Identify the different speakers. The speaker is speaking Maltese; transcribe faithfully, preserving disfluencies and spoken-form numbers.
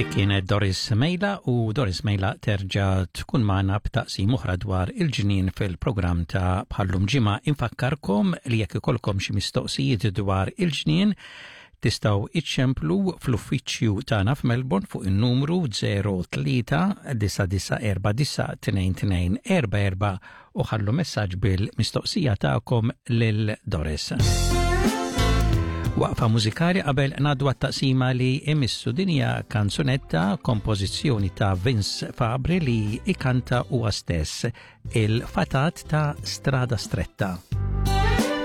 Speaker 1: Dik kienet Doris Mejla u Doris Mejla terġa' tkun magħna b'taqsim oħra dwar il-ġnien fil-programm ta' bħal-lum ġimgħa. Infakkarkom li jekk ikolkom xi mistoqsijiet dwar il-ġnien tistgħu iċċemplu fl-uffiċċju tagħna f'Melbourne fuq in-numru zero tlieta disa' disa' erba' disa' tnejn tnejn erba' erba' u ħallu messaġġ bil-mistoqsija tagħkom lil Doris. Waqfa mużikali qabel ngħaddu għat-taqsima li jmiss. Din hija kanzunetta, kompożizzjoni ta' Vince Fabri li ikanta huwa stess, "Il-Fatat ta' Strada Stretta".